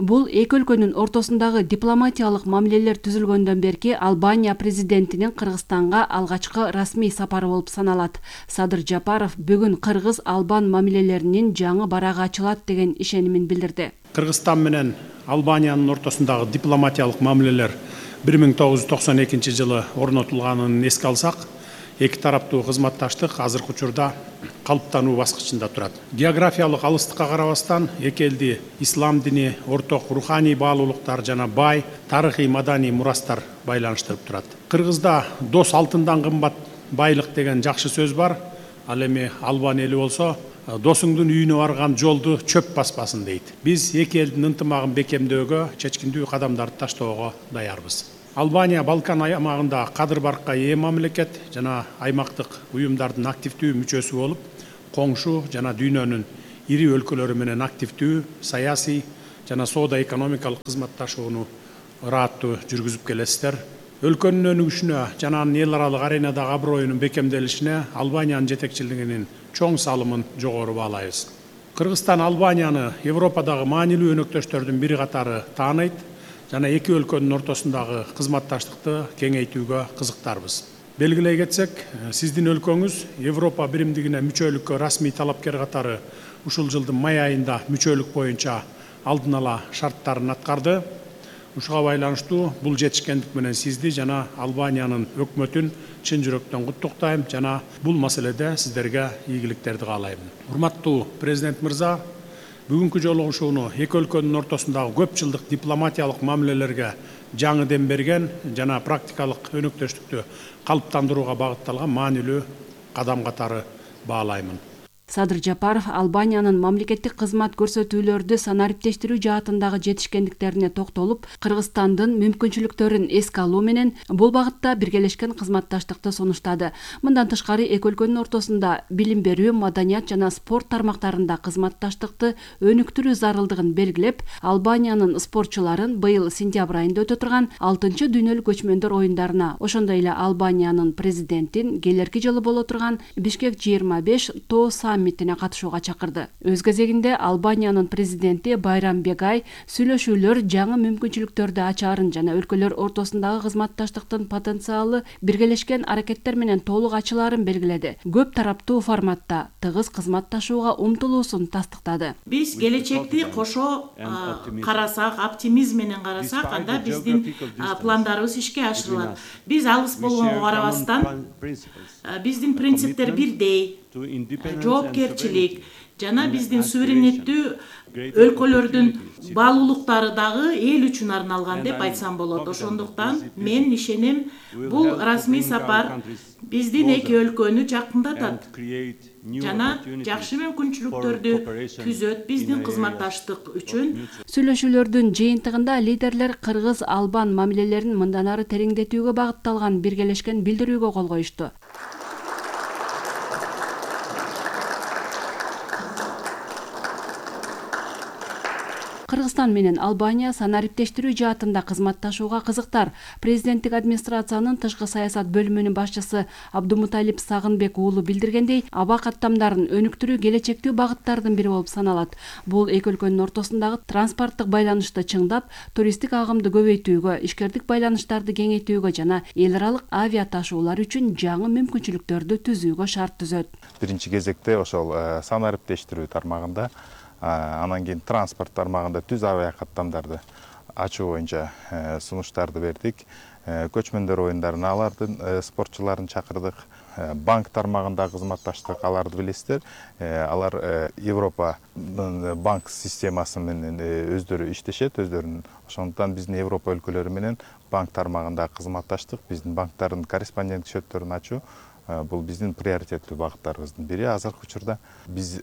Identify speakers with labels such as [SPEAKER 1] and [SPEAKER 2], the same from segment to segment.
[SPEAKER 1] Бул эки өлкөнүн ортосундагы дипломатиялык мамилелер түзүлгөндөн берки Албания президентинин Кыргызстанга алгачкы расмий сапары болуп саналат. Садыр Жапаров бүгүн кыргыз-албан мамилелеринин жаңы барагы ачылат деген ишенимин билдирди.
[SPEAKER 2] Кыргызстан менен Албаниянын ортосундагы дипломатиялык мамилелер 1992 жылы орнотулганын эске алсак, эки тараптуу кызматташтык азыркы учурда калыптануу баскычында турат. Географиялык алыстыкка карабастан эки элди ислам дини, орток руханий баалуулуктар жана бай тарыхый маданий мурастар байланыштырып турат. Кыргызда дос алтындан кымбат байлык деген жакшы сөз бар. Ал эми Албан эли болсо досуңдун үйүнө барган жолду чөп баспасын дейт. Биз эки элдин ынтымагын бекемдөөгө, чечкиндүү кадамдарды таштоого даярбыз. Албания Балкан аймагында кадыр баркка ээ мамлекет жана аймактык уюмдардын активдүү мүчөсү болуп, коңшу жана дүйнөнүн ири өлкөлөрү менен активдүү саясий жана соода-экономикалык кызматташууну ырааттуу жүргүзүп келесиздер. Өлкөнүн өнүгүшүнө жана анын эл аралык аренадагы аброюнун бекемделишине Албаниянын жетекчилигинин чоң салымын жогору баалайбыз. Кыргызстан Албанияны Европадагы маанилүү өнөктөштөрдүн бири катары тааныйт жана эки өлкөнүн ортосундагы кызматташтыкты кеңейтүүгө кызыктарбыз. Белгилей кетсек, сиздин өлкөңүз Европа биримдигине мүчөлүккө расмий талапкер катары ушул жылдын май айында мүчөлүк боюнча алдын ала шарттарын аткарды. Ушуга байланыштуу бул жетишкендик менен сизди жана Албаниянын өкмөтүн чын жүрөктөн куттуктайм жана бул маселеде сиздерге ийгиликтерди каалайм. Урматтуу президент мырза, бүгүнкү жолугушууну эки өлкөнүн ортосундагы көп жылдык дипломатиялык мамилелерге жаңы дем берген жана практикалык өнөктөштүктү калыптандырууга багытталган маанилүү кадам катары баалаймын.
[SPEAKER 1] Садыр Жапаров Албаниянын мамлекеттик кызмат көрсөтүүлөрдү санариптештирүү жаатындагы жетишкендиктерине токтолуп, Кыргызстандын мүмкүнчүлүктөрүн эске алуу менен бул багытта биргелешкен кызматташтыкты сунуштады. Мындан тышкары эки өлкөнүн ортосунда билим берүү, маданият жана спорт тармактарында кызматташтыкты өнүктүрүү зарылдыгын белгилеп, Албаниянын спортчуларын быйыл сентябрь айында өтө турган 6-чы дүйнөлүк көчмөндөр оюндарына, ошондой эле Албаниянын президентин келерки жылы боло турган Бишкек 25 тоо саммитине катышууга чакырды. Өз кезегинде Албаниянын президенти Байрам Бегай сүйлөшүүлөр жаңы мүмкүнчүлүктөрдү ачаарын жана өлкөлөр ортосундагы кызматташтыктын потенциалы биргелешкен аракеттер менен толук ачылаарын белгиледи. Көп тараптуу форматта тыгыз кызматташууга умтулуусун тастыктады.
[SPEAKER 3] Биз келечекти кошо карасак, оптимизм менен карасак, анда биздин пландарыбыз ишке ашырылат. Биз алыс болгонго карабастан, биздин принциптер бирдей, жоопкерчилик жана биздин суверенеттүү өлкөлөрдүн баалуулуктары дагы эл үчүн арналган деп айтсам болот. Ошондуктан мен ишенем, бул расмий сапар биздин эки өлкөнү жакындатат жана жакшы мүмкүнчүлүктөрдү түзөт биздин кызматташтык үчүн.
[SPEAKER 1] Сүйлөшүүлөрдүн жыйынтыгында лидерлер кыргыз-албан мамилелерин мындан ары тереңдетүүгө багытталган биргелешкен билдирүүгө кол коюшту. Кыргызстан менен Албания санариптештирүү жаатында кызматташууга кызыктар. Президенттик администрациянын тышкы саясат бөлүмүнүн башчысы Абдумуталип Сагынбек уулу билдиргендей, аба каттамдарын өнүктүрүү келечектүү багыттардын бири болуп саналат. Бул эки өлкөнүн ортосундагы транспорттук байланышты чыңдап, туристтик агымды көбөйтүүгө, ишкердик байланыштарды кеңейтүүгө жана эл аралык авиа ташуулар үчүн жаңы мүмкүнчүлүктөрдү түзүүгө шарт түзөт.
[SPEAKER 4] Биринчи кезекте ошол санариптештирүү тармагында, анан кийин транспорт тармагында түз авиа каттамдарды ачуу боюнча сунуштарды бердик. Көчмөндөр оюндарына алардын спортчуларын чакырдык. Банк тармагында кызматташтык, аларды билесиздер. Алар Европа банк системасы менен өздөрү иштешет, өздөрүнүн. Ошондуктан биздин Европа өлкөлөрү менен банк тармагында кызматташтык, биздин банктардын корреспондент счеттөрүн ачуу бул биздин приоритеттүү багыттарыбыздын бири. Азыркы учурда биз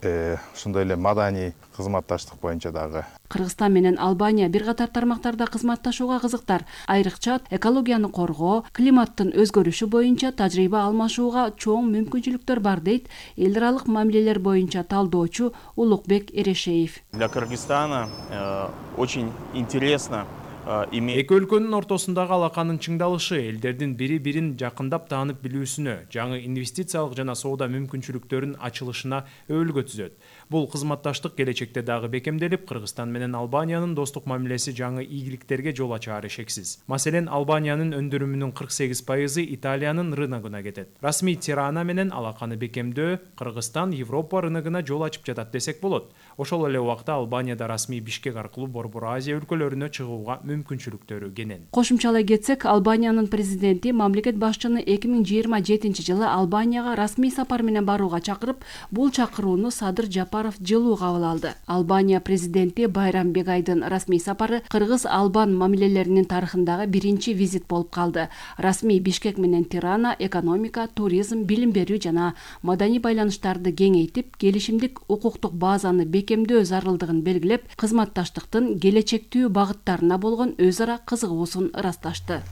[SPEAKER 4] ошондой эле маданий кызматташтык боюнча дагы.
[SPEAKER 1] Кыргызстан менен Албания бир катар тармактарда кызматташууга кызыктар. Айрыкча экологияны коргоо, климаттын өзгөрүшү боюнча тажрыйба алмашууга чоң мүмкүнчүлүктөр бар дейт эл аралык мамилелер боюнча талдоочу Улукбек Эрешеев.
[SPEAKER 5] Для Кыргызстана очень интересно Эки өлкөнүн ортосундагы алаканын чыңдалышы элдердин бири-бирин жакындап таанып билүүсүнө, жаңы инвестициялык жана соода мүмкүнчүлүктөрүнүн ачылышына өбөлгө түзөт. Бул кызматташтык келечекте дагы бекемделип, Кыргызстан менен Албаниянын достук мамилеси жаңы ийгиликтерге жол ачаары шексиз. Маселен, Албаниянын өндүрүмүнүн 48% Италиянын рыногуна кетет. Расмий Тирана менен алаканы бекемдөө Кыргызстан Европа рыногуна жол ачып жатат десек болот. Ошол эле убакта Албанияда расмий Бишкек аркылуу Борбор Азия өлкөлөрүнө чыгууга мүмкүнчүлүктөрү кенен.
[SPEAKER 1] Кошумчалай кетсек, Албаниянын президенти мамлекет башчыны 2027-жылы Албанияга расмий сапар менен барууга чакырып, бул чакырууну Садыр Жапаров жылуу кабыл алды. Албания президенти Байрам Бегайдын расмий сапары кыргыз-албан мамилелеринин тарыхындагы биринчи визит болуп калды. Расмий Бишкек менен Тирана экономика, туризм, билим берүү жана маданий байланыштарды кеңейтип, келишимдик укуктук базаны бекемдөө зарылдыгын белгилеп, кызматташтыктын келечектүү багыттарына болгон өз ара кызыгуусун ырасташты.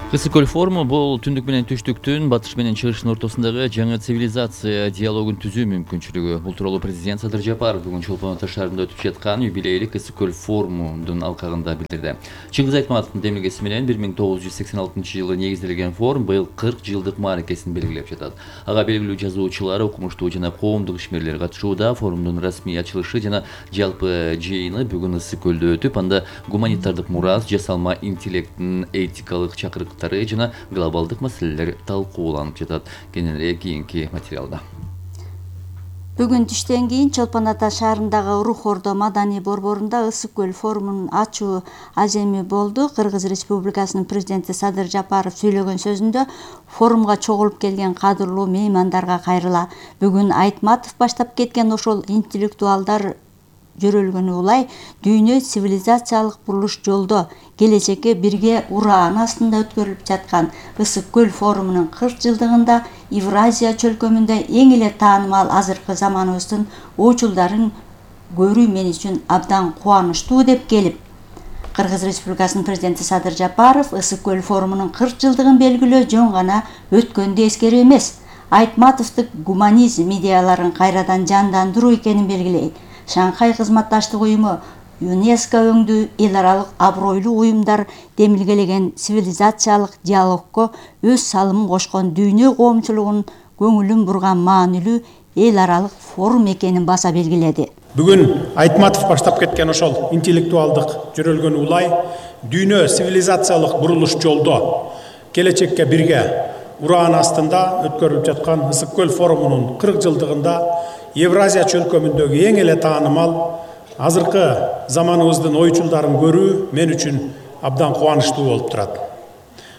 [SPEAKER 6] Ысык-көл форуму бул түндүк менен түштүктүн, батыш менен чыгыштын ортосундагы жаңы цивилизация диалогун түзүү мүмкүнчүлүгү. Бул тууралуу президент Садыр Жапаров бүгүн Чолпон Ата шаарында өтүп жаткан юбилейлик Ысык-көл форумунун алкагында билдирди. Чыңгыз Айтматовдун демилгеси менен 1986-жылы негизделген форум быйыл 40 жылдык мааракесин белгилеп жатат. Ага белгилүү жазуучулар, окумуштуу жана коомдук ишмерлер катышууда. Форумдун расмий ачылышы жана жалпы жыйыны бүгүн Ысык-көлдө өтүп, анда гуманитардык мурас, жасалма интеллекттин этикалык чакырыктары жана глобалдык маселелер талкууланып жатат. Кененирээк кийинки материалда.
[SPEAKER 7] Бүгүн түштөн кийин Чолпон Ата шаарындагы Рух Ордо маданий борборунда Ысык-көл форумунун ачуу аземи болду. Кыргыз Республикасынын президенти Садыр Жапаров сүйлөгөн сөзүндө форумга чогулуп келген кадырлуу меймандарга кайрыла. Бүгүн Айтматов баштап кеткен ошол интеллектуалдар жөрөлгөнү улай дүйнө цивилизациялык бурулуш жолдо келечекке бирге ураан астында өткөрүлүп жаткан Ысык-көл форумунун 40 жылдыгында Евразия чөлкөмүндө эң эле таанымал азыркы заманыбыздын оочулдарын көрүү мен үчүн абдан кубанычтуу деп келип, Кыргыз Республикасынын президенти Садыр Жапаров Ысык-көл форумунун 40 жылдыгын белгилөө жөн гана өткөндү эскерүү эмес, Айтматовдук гуманизм идеяларын кайрадан жандандыруу экенин белгилейт. Шанхай кызматташтык уюму, ЮНЕСКО өңдүү эл аралык абройлуу уюмдар демилгелеген цивилизациялык диалогко өз салымын кошкон дүйнө коомчулугунун көңүлүн бурган маанилүү эл аралык форум экенин баса белгиледи.
[SPEAKER 2] Бүгүн Айтматов баштап кеткен ошол интеллектуалдык жөрөлгөн улай дүйнө цивилизациялык бурулуш жолдо келечекке бирге ураан астында өткөрүлүп жаткан Ысык-көл форумунун 40 жылдыгында Евразия чөлкөмүндөгү эң эле таанымал азыркы заманыбыздын оочулдарын көрүү мен үчүн абдан кубанычтуу болуп турат.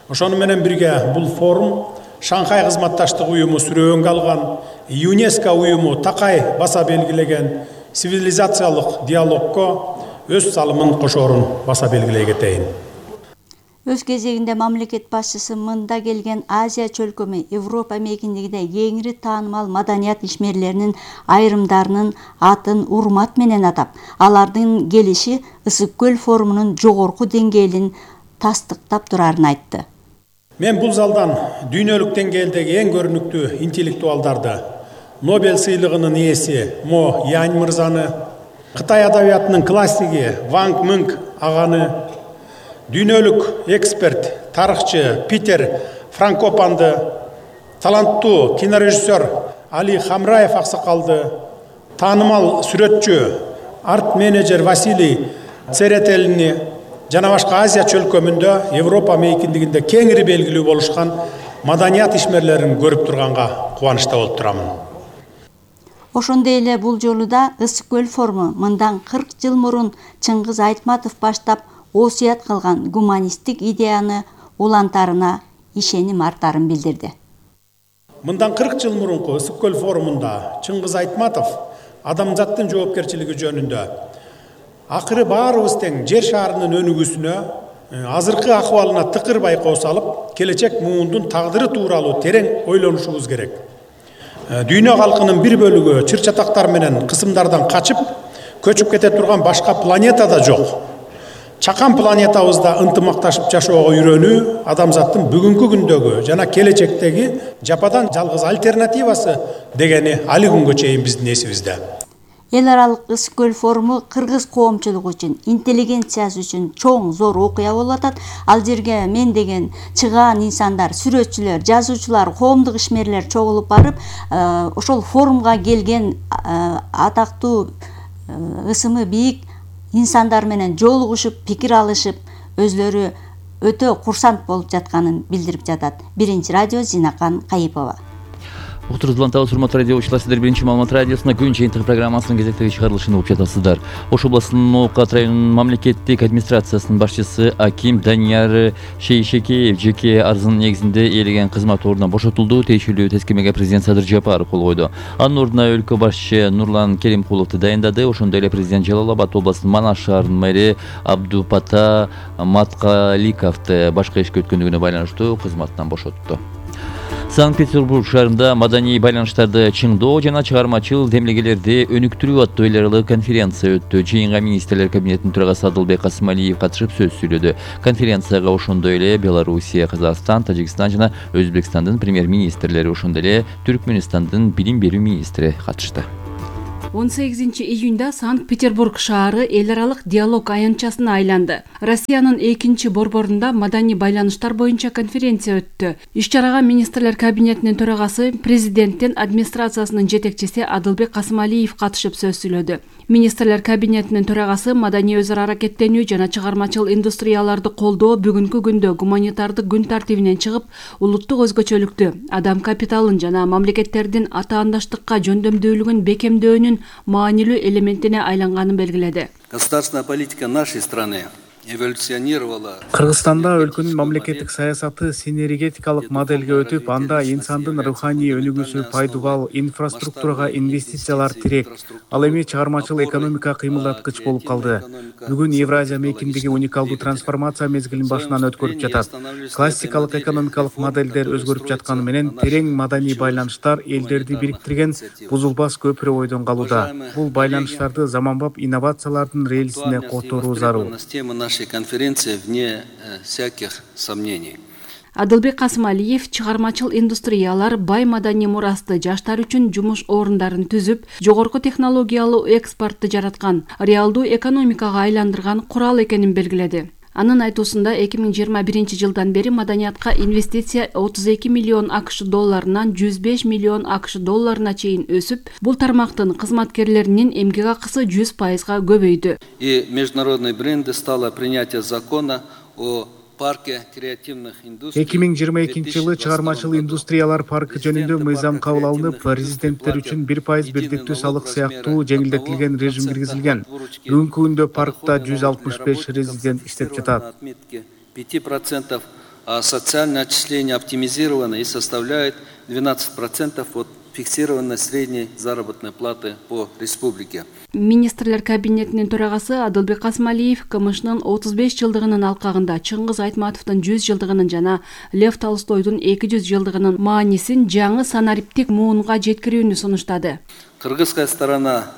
[SPEAKER 2] Ошону менен бирге бул форум Шанхай кызматташтык уюму сүрөөнгө алган, ЮНЕСКО уюму такай баса белгилеген цивилизациялык диалогко өз салымын кошоорун баса белгилей кетейин.
[SPEAKER 7] Өз кезегинде мамлекет башчысы мында келген Азия чөлкөмү Европа мейкиндигинде кеңири таанымал маданият ишмерлеринин айрымдарынын атын урмат менен атап, алардын келиши Ысык-көл форумунун жогорку деңгээлин тастыктап турарын айтты.
[SPEAKER 2] Мен бул залдан дүйнөлүк деңгээлдеги эң көрүнүктүү интеллектуалдарды, Нобель сыйлыгынын ээси Мо Янь мырзаны, Кытай адабиятынын классиги Ванг Мынг аганы, дүйнөлүк эксперт, тарыхчы Питер Франкопанды, таланттуу кинорежиссер Али Хамраев аксакалды, таанымал сүрөтчү, арт-менеджер Василий Церетелини жана башка Азия чөлкөмүндө Европа мейкиндигинде кеңири белгилүү болушкан маданият ишмерлерин көрүп турганга кубанычта болуп турамын.
[SPEAKER 7] Ошондой эле бул жолу да Ысык-көл форуму мындан 40 жыл мурун Чыңгыз Айтматов баштап осуят кылган гуманисттик идеяны улантарына ишеним артарын билдирди.
[SPEAKER 2] Мындан 40 жыл мурунку Ысык-көл форумунда Чыңгыз Айтматов адамзаттын жоопкерчилиги жөнүндө акыры баарыбыз тең жер шарынын өнүгүүсүнө, азыркы акыбалына тыкыр байкоо салып, келечек муундун тагдыры тууралуу терең ойлонушубуз керек. Дүйнө калкынын бир бөлүгү чыр-чатактар менен кысымдардан качып, көчүп кете турган башка планета да жок. Чакан планетабызда ынтымакташып жашоого үйрөнүү адамзаттын бүгүнкү күндөгү жана келечектеги жападан жалгыз альтернативасы дегени али күнгө чейин биздин эсибизде.
[SPEAKER 7] Эл аралык Ысык көл форуму кыргыз коомчулугу үчүн, интеллигенциясы үчүн чоң зор окуя болуп атат. Ал жерге мендеген чыгаан инсандар, сүрөтчүлөр, жазуучулар, коомдук ишмерлер чогулуп барып, ошол форумга келген атактуу ысымы бийик инсандар менен жолугушуп, пикир алышып, өзлөрү өтө курсант болуп жатканын билдирип жатат. Биринчи радио Зинакан Кайыпова.
[SPEAKER 6] Отурузулан табыз урматтуу радиочулар, сиздер биринчи маалымат радиосуна күн жыйынтыгы программасынын кезектеги чыгарылышын угуп жатасыздар. Ош областынын Ноокат районунун мамлекеттик администрациясынын башчысы Аким Данияр Шейшекеев жеке арызынын негизинде ээлеген кызмат ордунан бошотулду. Тиешелүү тескемеге президент Садыр Жапаров кол койду. Анын ордуна өлкө башчы Нурлан Керимкуловду дайындады. Ошондой эле президент Жалал Абад областынын Манаш шаарынын мэри Абдупата Маткаликовду башка ишке өткөндүгүнө байланыштуу кызматтан бошотту. Санкт-Петербург шаарында маданий байланыштарды чыңдоо жана чыгармачыл демилгелерди өнүктүрүү аттуу эл аралык конференция өттү. Жыйынга министрлер кабинетинин төрагасы Адылбек Касымалиев катышып сөз сүйлөдү. Конференцияга ошондой эле Белоруссия, Казакстан, Тажикстан жана Өзбекстандын премьер-министрлери, ошондой эле Түркмөнстандын билим берүү министри катышты.
[SPEAKER 1] 18-июнда Санкт-Петербург шаары эл аралык диалог аянтчасына айланды. Россиянын экинчи борборунда маданий байланыштар боюнча конференция өттү. Иш-чарага министрлер кабинетинин төрагасы, президенттин администрациясынын жетекчиси Адылбек Касымалиев катышып сөз сүйлөдү. Министрлер кабинетинин төрагасы маданий өз ара аракеттенүү жана чыгармачыл индустрияларды колдоо бүгүнкү күндө гуманитардык күн тартибинен чыгып, улуттук өзгөчөлүктү, адам капиталын жана мамлекеттердин атаандаштыкка жөндөмдүүлүгүн бекемдөөнүн маанилүү элементине айланганын белгиледи.
[SPEAKER 8] Государственная политика нашей страны эволюционировала.
[SPEAKER 9] Кыргызстанда өлкөнүн мамлекеттик саясаты синергетикалык моделге өтүп, анда инсандын руханий өнүгүүсү пайдубал, инфраструктурага инвестициялар тирек, ал эми чыгармачыл экономика кыймылдаткыч болуп калды. Бүгүн Евразия мейкиндеги уникалдуу трансформация мезгилин башынан өткөрүп жатат. Классикалык экономикалык моделдер өзгөрүп жатканы менен терең маданий байланыштар элдерди бириктирген бузулбас көпүрө ойдон калууда. Бул байланыштарды заманбап инновациялардын рельсине которуу зарыл.
[SPEAKER 8] Конференция вне всяких сомнений.
[SPEAKER 1] Адылбек Касымалиев чыгармачыл индустриялар бай маданий мурасты жаштар үчүн жумуш орундарын түзүп, жогорку технологиялуу экспортты жараткан, реалдуу экономикага айландырган курал экенин белгиледи. Анын айтуусунда 2021 жылдан бери маданиятка инвестиция 32 миллион АКШ долларынан 105 миллион АКШ долларына чейин өсүп, бул тармактын кызматкерлеринин эмгек акысы 100%га көбөйдү.
[SPEAKER 8] И международной бренды стало принятие закона о парке креативных индустрий.
[SPEAKER 9] 2022 жылы чыгармачыл индустриялар паркы жөнүндө мыйзам кабыл алынып, резиденттер үчүн 1% бирдиктүү салык сыяктуу жеңилдетилген режим киргизилген. Бүгүнкү күндө паркта 165 резидент иштеп жатат.
[SPEAKER 8] 5%, а социальное отчисление оптимизировано и составляет 12% от фиксированной средней заработной платы по республике.
[SPEAKER 1] Министрлер кабинетинин төрагасы Адылбек Касымалиев КМШнын 35 жылдыгынын алкагында Чыңгыз Айтматовдун 100 жылдыгынын жана Лев Толстойдун 200 жылдыгынын маанисин жаңы санариптик муунга жеткирүүнү сунуштады.
[SPEAKER 8] Кыргызская сторона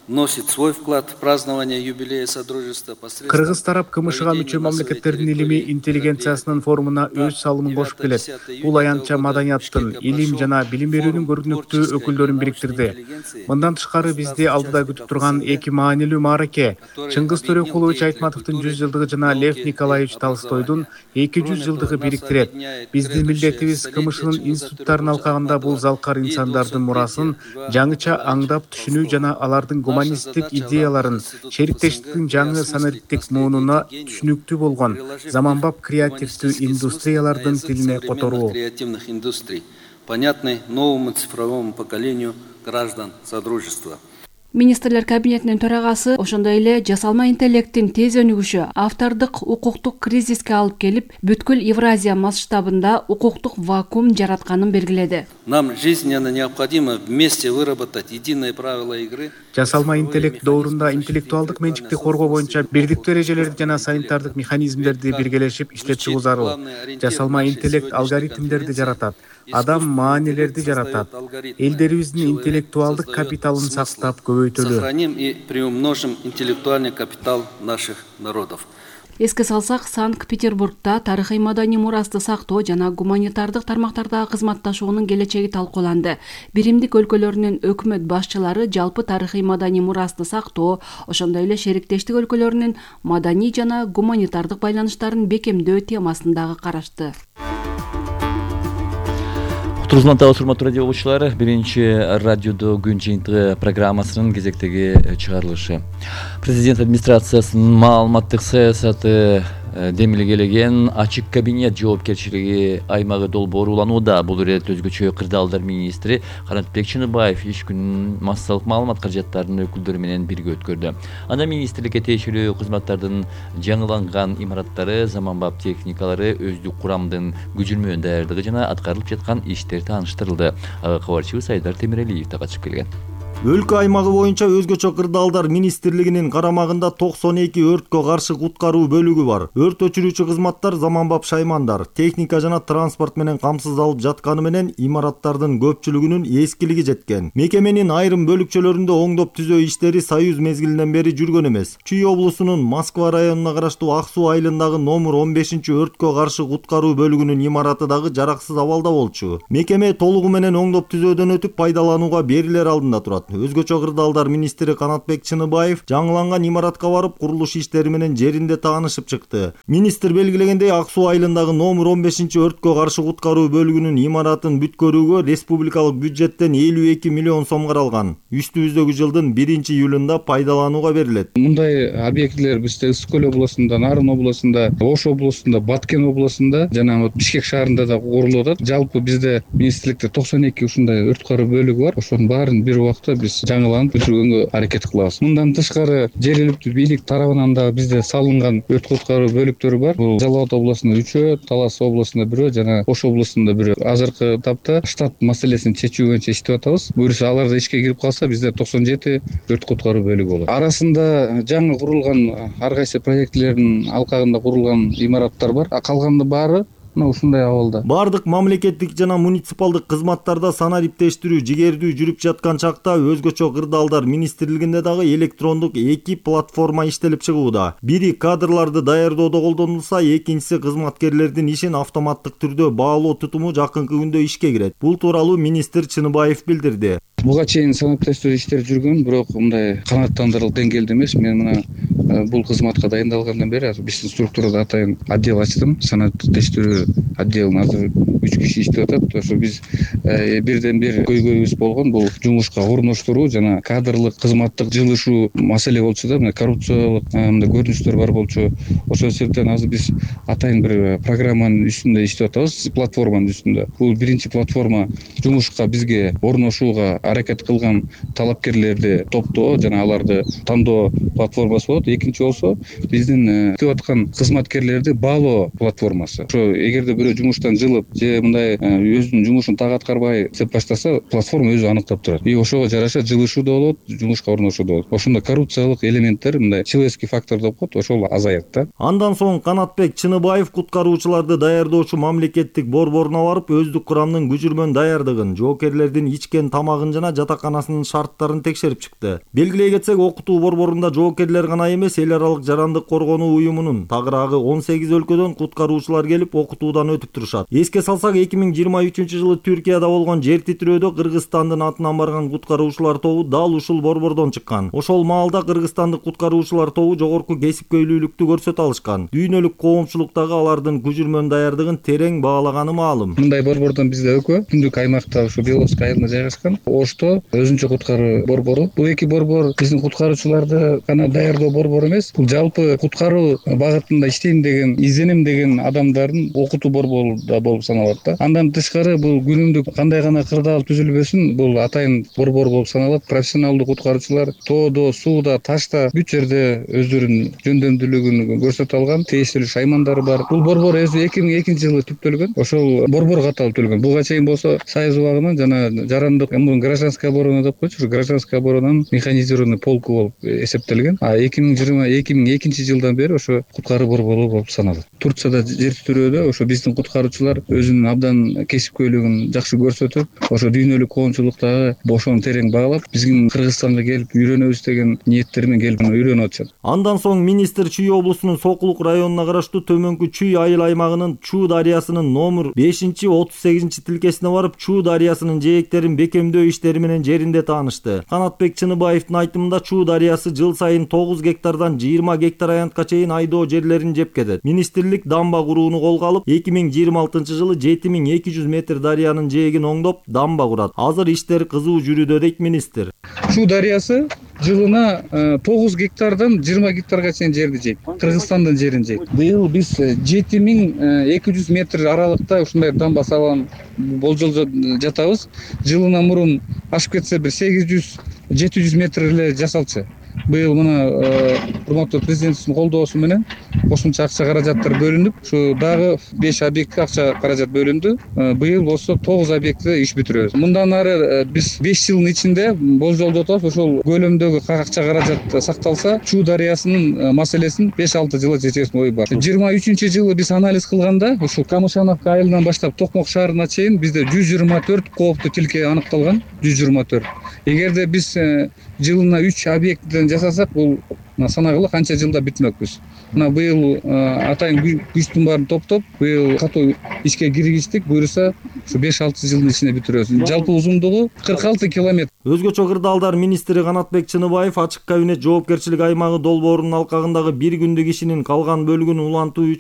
[SPEAKER 8] вносит свой вклад в празднование юбилея Содружества.
[SPEAKER 9] Кыргыз тарап КМШга мүчө мамлекеттердин илимий интеллигенциясынын форумуна өз салымын кошуп келет. Бул аянтча маданияттын, илим жана билим берүүнүн көрүнүктүү өкүлдөрүн бириктирди. Мындан тышкары бизди алдыда күтүп турган эки маанилүү маараке Чыңгыз Төрөкулович Айтматовдун 100 жылдыгы жана Лев Николаевич Толстойдун 200 жылдыгы бириктирет. Биздин милдетибиз КМШнын институттарынын алкагында бул залкар инсандардын мурасын жаңыча аңдап түшүнүү жана алардын гуманисттик идеяларын шериктештиктин жаңы санариптик муунуна түшүнүктүү болгон заманбап креативдүү индустриялардын тилине которуу.
[SPEAKER 8] Креативных индустрий, понятный новому цифровому поколению граждан Содружества.
[SPEAKER 1] Министрлер кабинетинин төрагасы ошондой эле жасалма интеллекттин тез өнүгүшү автордук укуктук кризиске алып келип, бүткүл Евразия масштабында укуктук вакуум жаратканын белгиледи.
[SPEAKER 8] Нам жизненно необходимо вместе выработать единые правила игры.
[SPEAKER 9] Жасалма интеллект доорунда интеллектуалдык менчикти коргоо боюнча бирдиктүү эрежелерди жана санитардык механизмдерди биргелешип иштеп чыгуу зарыл. Жасалма интеллект алгоритмдерди жаратат, адам маанилерди жаратат. Элдерибиздин интеллектуалдык капиталын сактап көбөйтөлү.
[SPEAKER 8] Сохраним и приумножим интеллектуальный капитал наших народов.
[SPEAKER 1] Эске салсак, Санкт-Петербургда тарыхый маданий мурасты сактоо жана гуманитардык тармактардагы кызматташуунун келечеги талкууланды. Биримдик өлкөлөрүнүн өкмөт башчылары жалпы тарыхый маданий мурасты сактоо, ошондой эле шериктештик өлкөлөрүнүн маданий жана гуманитардык байланыштарын бекемдөө темасын дагы карашты.
[SPEAKER 6] Турузмантабыз урматтуу радио угуучулар, биринчи радиодо күн жыйынтыгы программасынын кезектеги чыгарылышы. Президент администрациясынын маалыматтык саясаты демилгелеген ачык кабинет жоопкерчилиги аймагы долбоору уланууда. Бул иретте өзгөчө кырдаалдар министри Канатбек Чыныбаев иш күнүн массалык маалымат каражаттарынын өкүлдөрү менен бирге өткөрдү. Анда министрликке тиешелүү кызматтардын жаңыланган имараттары, заманбап техникалары, өздүк курамдын күжүрмөн даярдыгы жана аткарылып жаткан иштер тааныштырылды. Ага кабарчыбыз Айдар Темиралиев да катышып келген.
[SPEAKER 10] Өлкө аймагы боюнча өзгөчө кырдаалдар министрлигинин карамагында 92 өрткө каршы куткаруу бөлүгү бар. Өрт өчүрүүчү кызматтар заманбап шаймандар, техника жана транспорт менен камсыздалып жатканы менен имараттардын көпчүлүгүнүн эскилиги жеткен. Мекеменин айрым бөлүкчөлөрүндө оңдоп түзөө иштери Союз мезгилинен бери жүргөн эмес. Чүй облусунун Москва районуна караштуу Ак Суу айылындагы номер 15-өрткө каршы куткаруу бөлүгүнүн имараты дагы жараксыз абалда болчу. Мекеме толугу менен оңдоп түзөөдөн өтүп пайдаланууга берилер алдында турат. Өзгөчө кырдаалдар министри Канатбек Чыныбаев жаңыланган имаратка барып курулуш иштери менен жеринде таанышып чыкты. Министр белгилегендей, Ак Суу айылындагы номер 15-өрткө каршы куткаруу бөлүгүнүн имаратын бүткөрүүгө республикалык бюджеттен 52 миллион сом каралган. Үстүбүздөгү жылдын 1-июлунда пайдаланууга берилет.
[SPEAKER 11] Мындай объектилер бизде Ысык көл облусунда, Нарын облусунда, Ош облусунда, Баткен облусунда жана Бишкек шаарында да курулуп атат. Жалпы бизде министрликте 92 ушундай өрт куткаруу бөлүгү бар. Ошонун баарын бир убакта биз жаңыланып бүтүргөнгө аракет кылабыз. Мындан тышкары жергиликтүү бийлик тарабынан да бизде салынган өрт куткаруу бөлүктөрү бар. Бул Жалал Абад облусунда 3, Талас облусунда 1 жана Ош облусунда 1. Азыркы тапта штат маселесин чечүү боюнча иштеп атабыз. Буюрса алар да ишке кирип калса, бизде 97 өрт куткаруу бөлүгү болот. Арасында жаңы курулган ар кайсы проектилердин алкагында курулган имараттар бар. Калгандын баары ушундай абалда.
[SPEAKER 10] Бардык мамлекеттик жана муниципалдык кызматтарда санариптештирүү жигердүү жүрүп жаткан чакта өзгөчө кырдаалдар министрлигинде дагы электрондук 2 платформа иштелип чыгууда. Бири кадрларды даярдоодо колдонулса, экинчиси кызматкерлердин ишин автоматтык түрдө баалоо тутуму жакынкы күндө ишке кирет. Бул тууралуу министр Чыныбаев билдирди.
[SPEAKER 11] Буга чейин санариптештирүү иштери жүргөн, бирок мындай канааттандырылып деңгээлде эмес. Мен мына бул кызматка дайындалгандан бери биздин структурада атайын отдел ачтым. Санариптештирүү отделин азыр 3 киши иштеп атат. Ошо биз бирден бир көйгөйүбүз болгон бул жумушка орноштуруу жана кадрлык кызматтык жылышуу маселе болчу да. Мына коррупциялык мындай көрүнүштөр бар болчу. Ошол себептен азыр биз атайын бир программанын үстүндө иштеп атабыз, платформанын үстүндө. Бул биринчи платформа жумушка бизге орношууга аракет кылган талапкерлерди топтоо жана аларды тандоо платформасы болот. Экинчи болсо биздин иштеп аткан кызматкерлерди баалоо платформасы. Ошо эгерде бирөө жумуштан жылып же мындай өзүнүн жумушун так аткарбай иштеп баштаса, платформа өзү аныктап турат. И ошого жараша жылышуу да болот, жумушка орношуу да болот. Ошондо коррупциялык элементтер, мындай человеческий фактор деп коет, ошол азаят да.
[SPEAKER 10] Андан соң Канатбек Чыныбаев куткаруучуларды даярдоочу мамлекеттик борборуна барып, өздүк курамдын күжүрмөн даярдыгын, жоокерлердин ичкен тамагын жана жатаканасынын шарттарын текшерип чыкты. Белгилей кетсек, окутуу борборунда жоокерлер гана эмес, эл аралык жарандык коргонуу уюмунун тагыраагы 18 өлкөдөн куткаруучулар келип окутуудан өтүп турушат. Эске салсак, 2023-жылы Түркияда болгон жер титирөөдө Кыргызстандын атынан барган куткаруучулар тобу дал ушул борбордон чыккан. Ошол маалда кыргызстандык куткаруучулар тобу жогорку кесипкөйлүүлүктү көрсөтө алышкан. Дүйнөлүк коомчулуктагы алардын күжүрмөн даярдыгын терең баалаганы маалым.
[SPEAKER 11] Мындай борбордон бизде экөө түндүк аймакта ушу Беловский айылында жайгашкан. Ошто өзүнчө куткаруу борбору. Бул эки борбор биздин куткаруучуларды гана даярдоо борбору эмес, бул жалпы куткаруу багытында иштейм деген, изденем деген адамдардын окутуу борбору да болуп саналат да. Андан тышкары бул күнүмдүк кандай гана кырдаал түзүлбөсүн, бул атайын борбор болуп саналат. Профессионалдуу куткаруучулар тоодо, сууда, ташта бүт жерде өздөрүнүн жөндөмдүүлүгүн көрсөтө алган, тиешелүү шаймандары бар. Бул борбор өзү 2002-жылы түптөлгөн. Ошол борбор катары түзүлгөн. Буга чейин болсо Союз убагынан жана жарандык гражданская оборона деп коечу, гражданская оборонанын механизированный полку болуп эсептелген. А 2020 2002 жылдан бери ошо куткаруу борбору болуп саналат. Турцияда жер титирөөдө ошо биздин куткаруучулар өзүнүн абдан кесипкөйлүгүн жакшы көрсөтүп, ошо дүйнөлүк коомчулуктагы бошон терең баглап, биздин Кыргызстанга келип үйрөнөбүз деген ниеттермен келип үйрөнүп атышат.
[SPEAKER 10] Андан соң министр Чүй облусунун Сокулук районуна караштуу Төмөнкү Чүй айыл аймагынын Чуу дарыясынын номер 5-38 тилкесине барып, Чуу дарыясынын жээктерин бекемдөө иштери менен жеринде таанышты. Канатбек Чыныбаевдин айтымында Чуу дарыясы жыл сайын 9 гектардан 20 гектар аянтка чейин айдоо жерлерин жеп кетет. Министрлик дамба курууну колго алып, 2026 жылы 7200 метр дарыянын жээгин оңдоп, дамба курат. Азыр иштер кызуу жүрүүдө дейт министр.
[SPEAKER 11] Чуу дарыясы жылына 9 гектардан 20 гектарга чейин жерди жейт. Кыргызстандын жерин жейт. Быйыл биз 7200 метр аралыкта ушундай дамба салган болжолдо жатабыз. Жылына мурун ашып кетсе бир 800-700 метр эле жасалчу. Быйыл мына урматтуу президентибиздин колдоосу менен кошумча акча каражаттар бөлүнүп, ушу дагы 5 объектке акча каражат бөлүндү. Быйыл болсо 9 объектте иш бүтүрөбүз. Мындан ары биз 5 жылдын ичинде болжолдоп атабыз, ошол көлөмдөгү акча каражат сакталса, Чуу дарыясынын маселесин 5-6 жылга чечесин ой бар. 23-жылы биз анализ кылганда, ушул Камышановка айылынан баштап Токмок шаарына чейин бизде 124 кооптуу тилке аныкталган. 124. Эгерде биз жылына 3 объекттен жасасак, бул санагыла канча жылда бүтмөкпүз. Мына быйыл атайын күчтүн баарын топтоп, быйыл катуу ишке киргиздик. Буюрса, ушу 5-6 жылдын ичинде бүтүрөбүз. Жалпы узундугу 46 километр.
[SPEAKER 10] Өзгөчө кырдаалдар министри Канатбек Чыныбаев ачык кабинет жоопкерчилик аймагы долбоорунун алкагындагы 1 күндүк ишинин калган бөлүгүн улантуу